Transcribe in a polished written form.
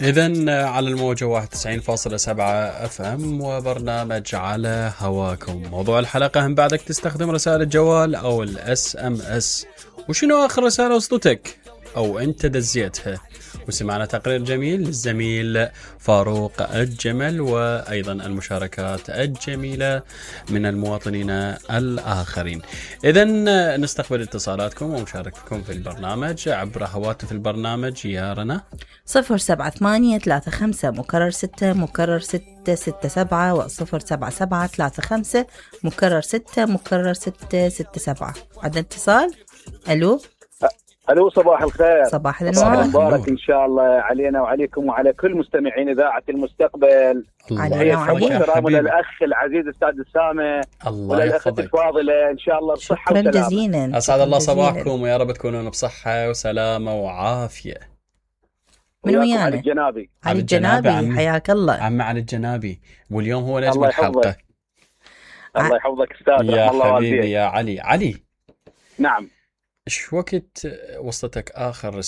إذن على الموجة 91.7 FM وبرنامج على هواكم. موضوع الحلقة: هم بعدك تستخدم رسائل الجوال أو SMS؟ وشنو آخر رسالة وصلتك أو أنت دزيتها؟ وسمعنا تقرير جميل للزميل فاروق الجمل، وأيضا المشاركات الجميلة من المواطنين الآخرين. إذن نستقبل اتصالاتكم ومشاركتكم في البرنامج عبر هواتف البرنامج. يا رنا 07835 مكرر 6 مكرر 667 و 07735 مكرر 6 مكرر 667. عندنا اتصال. ألو الو، صباح الخير. صباح النور مبارك ان شاء الله علينا وعليكم وعلى كل مستمعين اذاعه المستقبل. علينا وعليك كرامنا الاخ العزيز استاذ اسامه والاخت الفاضله، ان شاء الله بصحه وسلامه. شكرا جزيلا. اسعد الله صباحكم ويا رب تكونون بصحه وسلامه وعافيه. من ويانا؟ علي الجنابي. علي الجنابي، حياك الله عم علي الجنابي، واليوم هو نجم الحلقه. الله يحفظك استاذ. يا حبيبي يا علي. نعم. ايش وقت وصلتك آخر